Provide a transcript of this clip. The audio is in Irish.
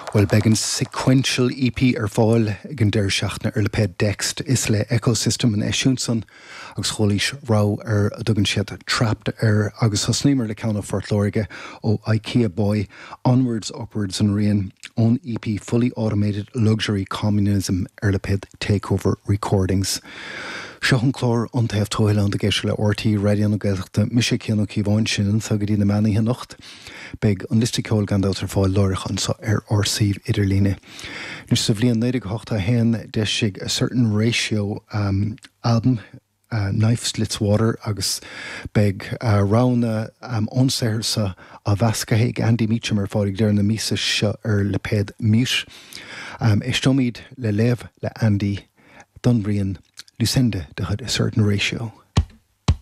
Bhuel, beidh an Sequential EP ar fáil ag an deireadh seachtaine ar lipéad Dext. Is le Echosystem an eisiúint san agus chualaís rogha ar a dtugann siad Trapped air agus thosnaíomar le ceann ó Phort Láirge ó Ikea Boy, Onwards Upwards an rian ón EP Fully Automated Luxury Communism ar lipéad Takeover Recordings. Seo an clár An Taobh Tuathail ag éisteacht le RTÉ Raidió na Gaeltachta. Mise Cian Ó Cíobháin, sin anseo go dtí na meánoíche anocht. Beidh an liosta ceoil gan dabht ar fáil láithreach anseo ar ár suíomh idirlíne. Anois sa bhliain 1981 d'eisigh A Certain Ratio albam, Knife Slits Water agus beidh roghanna ón saothar seo á mheascadh ag Andy Meacham ar fáil ag deireadh na míosa seo ar lipéad Mute. Éisteoimid le léamh le Andy don rian Lucinda de chuid A Certain Ratio.